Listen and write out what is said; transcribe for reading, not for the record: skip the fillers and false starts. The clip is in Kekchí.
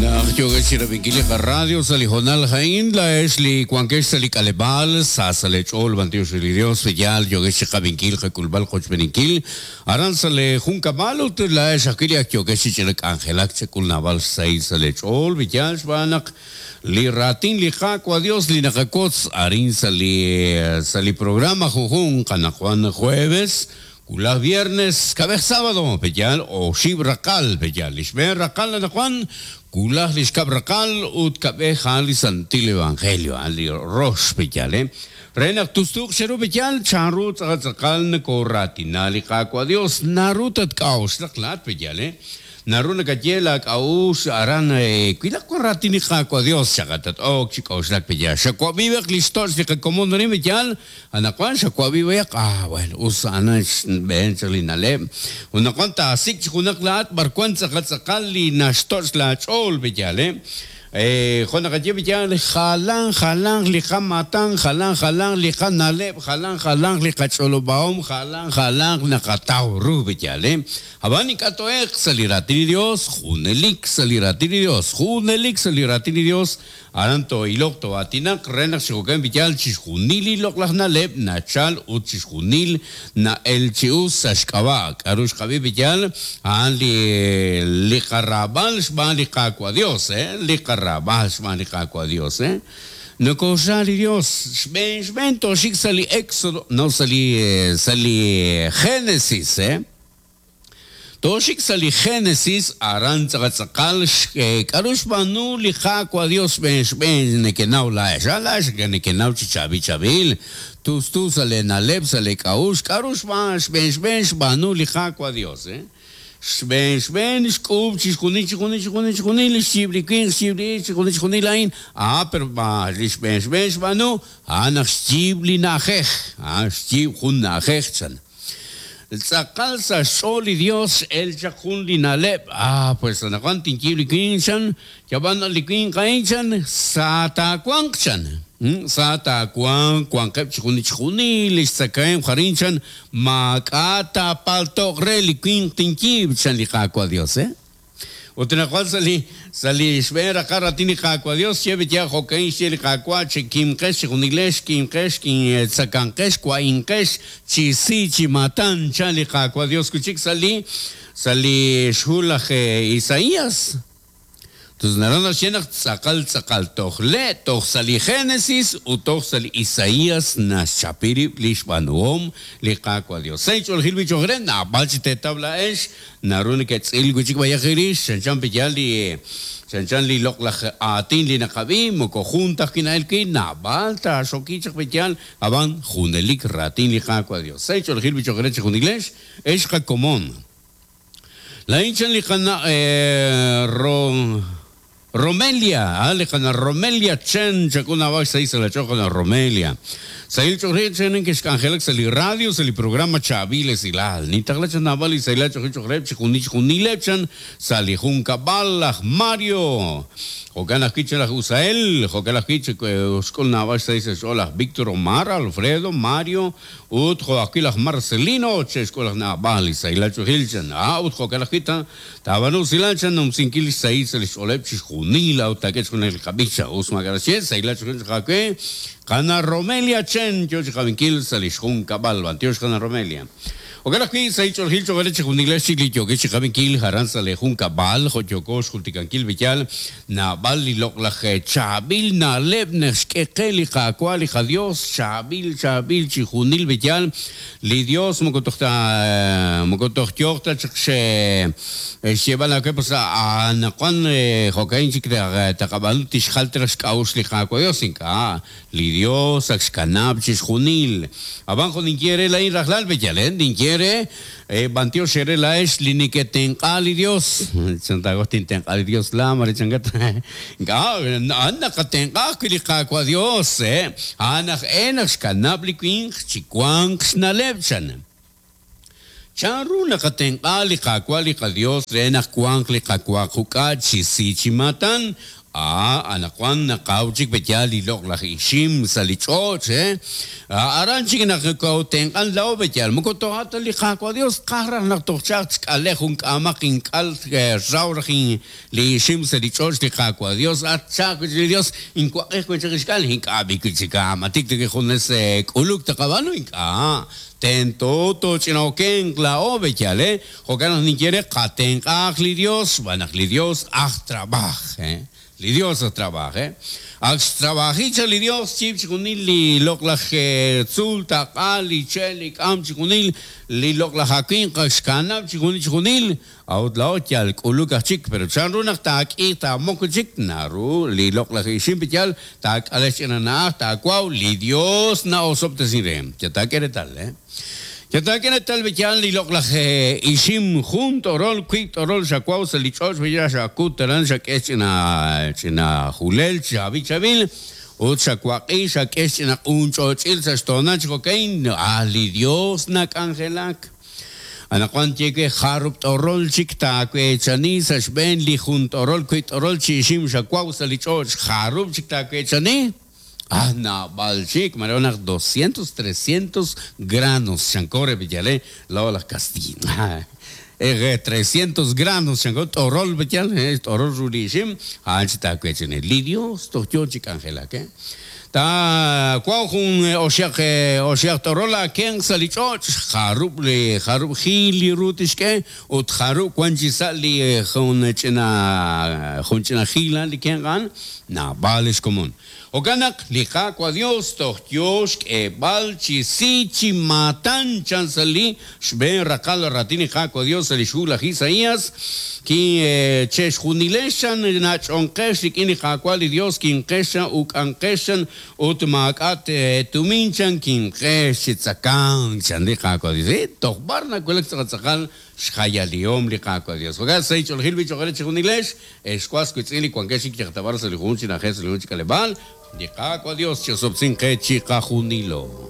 Naq yookex chi rab'inkil li qaradio sa' li hoonal a'in, laa'ex li wankex sa' li k'aleb'aal, sa sa' lee ch'ool b'antiox re li Dios, yaal yookex chi qab'inkil, qak'ulb'al, qochb'eeninkil aran sa' lee junkab'al ut laa'ex ajwi' li ak yookex chi ch'ina k'anjelak chek'ul naab'al xsahil sa' lee ch'ool, yaal xb'aan naq li raatin li Qaawa' Dios li naqawotz arin sa' li sa' li programa junjunq anaqwan jueves Wulaj viernes, kab'ej sábado, pe'yaal oxib' raqal, pe'yaal li xb'een raqal anaqwan, wulaj li xkab' raqal ut kab'ej a'an li Santil Evangelio, a'an li rox, pe'yaal, eh? Re naq tustuuq cheru, pe'yaal chanru tz'aqal tz'aqal nokooraatina li Qaawa' Dios, naru tatk'a'uxlaq laa'at, pe'yaal, eh? Naru nakaye laak'a'uxl aran, Wilaq wan raatin li Qaawa' Dios, chaqat tat-ok chi k'oxlak pe'yaal. Xawab'i b'eq li xtoch' li qakomon arin, pe'yaal? Anaqwan xawab'i b'ayaq, ah, bueno, us a'an xb'een chaq li na'leb'. Ut anaqwan taasik' chi junaq laa'at b'arwan tz'aqal tz'aqal li naxtoch' laach'ool, pe'yaal, eh? Jo' naqaye pe'yaal, jalan jalanq li qamaatan, jalan jalanq li qana'leb', jalan jalanq li qach'olob'ahom, jalan jalanq naqataw ru, pe'yaal, eh? Ab'an ink'a' to'e'q sa' li Raatin li Yos, junelik sa' li Raatin li Yos, junelik sa' li Raatin li Yos, aran too'iloq too'aatinaq re naq chi jo'kan b'iyal chixjunil li loq'laj na'leb' nachal ut chixjunil na'el chi us sa' xk'ab'a' k'a'ru xqab'i b'iyal, a'an li li qaraab'al xb'aan li Qaawa' Dios, li qaraab'al xb'aan li Qaawa' Dios. Nokooxra li Dios, xb'een xb'een tooxik sa' li Exodo, no sa' li sa' li Genesis. Tooxik sa' li Genesis, aran tz'aqal tz'aqal k'a'ru xb'aanu li Qaawa' Dios xb'een xb'een nekenaw laa'ex. A laa'ex nekenaw chi chaab'il chaab'il, tustu sa' lee na'leb', sa' lee k'a'uxl, k'a'ru xb'aan xb'een xb'een xb'aanu li Qaawa' Dios. Xb'een xb'een xk'uub' chixjunil chixjunil chixjunil chixjunil, xyiib' li winq, xyiib' li ixq, chixjunil chixjunil a'in. A pero li xb'een xb'een xb'aanu, a'an naq xyiib' li na'ajej, a'an xyiib' jun na'ajej chan. Tz'aqal sa' xch'ool li Dios x'el chaq jun li na'leb', Ah, pues anaqwan tinyiib' li winq, chan, yab'an li winq a'in, chan, sa taawanq, chan. Sa taawanq, wanqeb' chixjunil chixjunil lix tzakahemq arin, chan, maak'a' taapalto'q re li winq tinyiib', chan li Qaawa' Dios, eh? Ut anaqwan sa' li sa' li xb'een raqal raatin li Qaawa' Dios, xye b'eya jo'ka'in xye li Qaawa', Chekimqex chejunilex, kimqex, tzakanqex, wa'inqex, chi si chi maatan, chan li Qaawa' Dios wi' chik sa' li sa' li xhu laj Isaías. Tus naru naxye naq tz'aqal tz'aqal toj le' toj sa' li Génesis ut toj sa' li Isaías naxchapi rib' li xb'aanuhom li Qaawa' Dios. Sa' inch'oolejil b'i cho'q re, naab'al chi teetaw laa'ex Naru neke'tz'il wi' chik b'ayaq eerix, chanchan pe'yaal li chanchan li loq'laj aatin li naqab'i, moko jun ta ajwi' na'elk wi', naab'al taaxoki chaq pe'yaal, ab'an junelik raatin li Qaawa' Dios. Sa' inch'oolejil b'i cho'q eere chejunilex, ex qakomon. Laa'in chan li qana' Romelia, a li qana' Romelia Chen, chak'ul naab'al xsahil sa' laach'ool qana' Romelia. Sahil ch'oolejil Chen nekexk'anjelak sa' li radio sa' li programa Chaab'il Esilal. Nintaqla chaq naab'al li sahilal ch'oolejil cho'q reheb' chixjunil chixjunileb' chan sa' li junkab'al laj Mario. Jo'kan ajwi' chan laj Usael, jo'kan ajwi' xk'ul naab'al xsahil sa' xch'ool laj Victor Omar, Alfredo, Mario, Ut jo' ajwi' laj Marcelino che'xk'ul laj naab'al li sahilal ch'oolejil chan, a ut jo'kan ajwi' ta taab'aanu usilal chan numsinkil li xsahil sa' li xch'ooleb' chixjunil a'ut taak'e chixjunil li qab'ich chan us maak'a' naxye sahilal ch'oolejil cho'q aawe qana' Romelia Chen yo chi qab'inkil sa' li xjunkab'al b'antiox qana' Romelia. Jo'kan ajwi' sahil ch'oolejil cho'q eere chixjunilex chik li yookex chi qab'inkil aran sa' lee junkab'al jo' yooko xjultikankil b'iyal Naab'al li loq'laj chaab'il na'leb' naxk'e qe li Qaawa' li qaDios, chaab'il, chaab'il chixjunil b'eyal. Li Dios moko toj ta, moko toj yooq ta chaq xyeeb'al aawe pues anaqwan jo'ka'in chik taqab'aanu tixjal ta raj xk'a'uxl li Qaawa' Dios, ink'a'. Li Dios ak xkanab' chixjunil. Ab'an jo' ninye eere laa'in rajlal, b'eyal, ninye eere, B'antiox eere laa'ex li neketenq'a li Dios. Chan taawaj tintenq'a li Dios laa, mare chankat. Ink'a', a'an naqatenq'a ajwi' li Qaawa' Dios, a'an aj e naq xkanab' li winq chi wanq xna'leb', chan. Chan ru naqatenq'a li Qaawa' li qaDios re naq wanq li qawa quk'a' chi si chi maatan? Anaqwan naqaw chik pe'yaal li loq'laj ixim sa' li ch'och', aran chik naq kootenq'an laa'o pe'yaal moko toja' ta li Qaawa' Dios tqaj raj naq toj chaq chk'ale jun k'aamaq ink'al raw raj li ixim sa' li ch'och' li Qaawa' Dios at chaq wi' chik li Dios inwaq'ij wi' chik ixk'al ink'a' b'i wi' chik matik ta junes k'uluk taqab'aanu ink'a' tento tooch'ina'okenq laa'o pe'yaal Jo'kan naq ninye re, qatenq'aaq li Dios, xb'aan naq li Dios aj trab'aaj. Li Dios aj trab'aaj. Ak xtrab'aji chaq li Dios chiib' chixjunil li loq'laj tzuul, taq'a, li che', li k'am, chixjunil li loq'laj awimq ak xkanab' chixjunil chixjunil, a'ut laa'o yal k'uluk aj chik. Pero chanru naq taak'iiq taamok chik? Naru li loq'laj ixim yal taak'ale xch'ina na'aj, taawaw, li Dios na'osob'tesin re. Chataak'e reetal. Chataak'e reetal b'eyal li loq'laj ixim jun t'orol, wiib' t'orol xawaw sa' li ch'och' b'eyal xakut aran xak'e xch'ina ch'ina julel chaab'il chaab'il ut xawaq'i xak'e xch'ina q'un ch'och'il sa' xtoonal chi jo'ka'in ah li Dios nak'anjelak. Anaqwan ye we jarub' t'orol chik taaweechani sa' xb'een li jun t'orol wiib' t'orol chi ixim xawaw sa' li ch'och' jarub' chik taaweechani? Ah, naab'al chik, mare naq 200, 300 granos, chanko re b'eyal, laa'o laj kastiiy. 300 granos, chanko, t'orol b'eyal, t'orol ru li ixim, a'an chi taaweechani. Li Dios toj yoo chi k'anjelak, Taawaw jun oxaq oxaq t'orol aakenq sa' li ch'och', jarub' li jarub' jiil li ru tixk'e, ut jarub' wan chi sa' li jun ch'ina jun ch'ina jiil a'an li kenq a'an, naab'al li xkomon. Jo'kan naq li Qaawa' Dios toj yoo xk'eeb'al chi si chi maatan chan sa' li xb'een raqal raatin li Qaawa' Dios sa' lix hu laj Isaias, Kin che'xjunilex chan nach'onqex rik'in li Qaawa' li Dios, kinqex chan uk'anqex chan ut maak'a' tumin chan kinqex chi tzakank chan li Qaawa' Dios. Toj b'ar nawulak tz'aqal tz'aqal xjayalihom li Qaawa' Dios. Jo'kan sahil ch'oolejil b'i' cho'q eere chejunilex, ex was wiitz'in li wankex chik yalaq ta b'ar sa' li jun chi na'ajej sa' li jun chi k'aleb'aal, li Qaawa' Dios chi'osob'tesinq qe chiqajunilo.